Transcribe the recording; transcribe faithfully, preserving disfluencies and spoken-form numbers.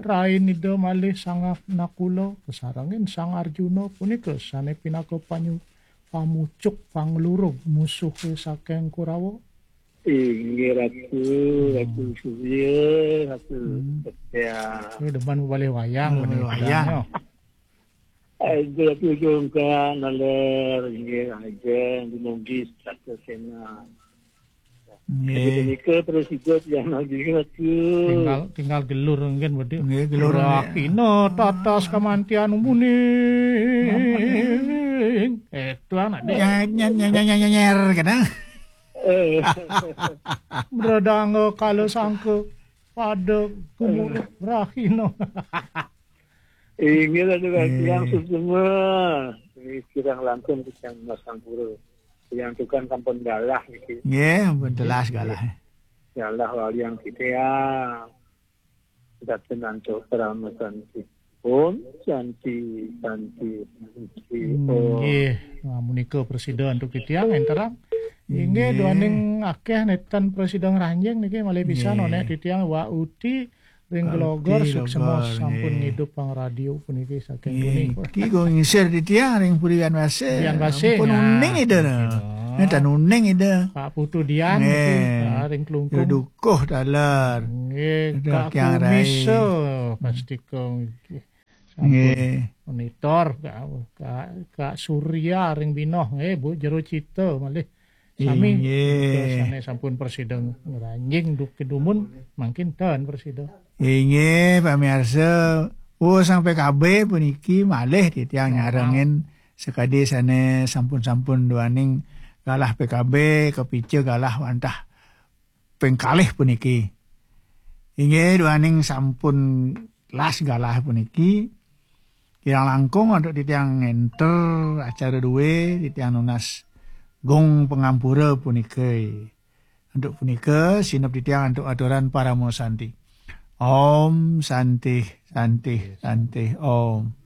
Tain Ida malih Sang Nakula kasarengin Sang Arjuna punika sane pinaka panyu pamucuk panglurug musuhe saking Kurawa. Inggih Ratu, Ratu Surya, Ratu Setia. Ini demen balik wayang. Balik wayang. Aduh, Ratu Jongka, naler, inggih, ajeng, dumugi, Ratu Sena. Nggih. Menika terus hidup yang lagi Ratu. Tinggal, tinggal gelur mungkin, Budi. Nggih, gelur. Rakina tatas kamantian umuning. Eh, tuan, adik. Nyer, nyer, nyer, nyer, nyer, nyer, kena. Eh. Bredanga kala sangka pada kumur rahina. Inggih, Ratu Kang Tiang semua. Ini kirang langkung kita Mas Sampura. Yang tukang kampung galah niki. Nggih, ampun telas galah. Galah waliang kita ya. Datang antuk parama santi. Om Santi, Santi, Santi. Om. Nggih, nah, menika presida antuk titiang enterang. Inggih, duaning akeh netan presida ngranjing niki malih pisan onek titiang Wa Uti ring Gelogor, suksema sampun ngidup pang radio puniki saking Nggih, punika. Niki kula ngingsir titiang ring Puri Wian Basih. Wian Basih, ampun nah, uning Ida. Nggih. Nggih, tan uning Ida. Pak Putu Dian niki, ah, ring Klungkung. Dukuh taler. Nggih, Kak Kumisa, pastika nggih. Sampun monitor, Kak, Kak, Kak Surya ring Binoh, nggih, Bu Jero Cita malih. Sami, inggih, sane sampun presida ngranjing duk kedumun, mangkin ten presida. Inggih, pamirsa, oh, sang P K B puniki malih titiang nyarengin sakadi sane sampun-sampun duaning galah P K B, kapica galah wantah ping kalih puniki. Inggih, duaning sampun las galah puniki, kirang langkung antuk titiang ngenter acara due, titiang nunas gong pangampura punika. Antuk punika, sineb titiang antuk aturan parama santi. Om Santi, Santi, Santi, Om.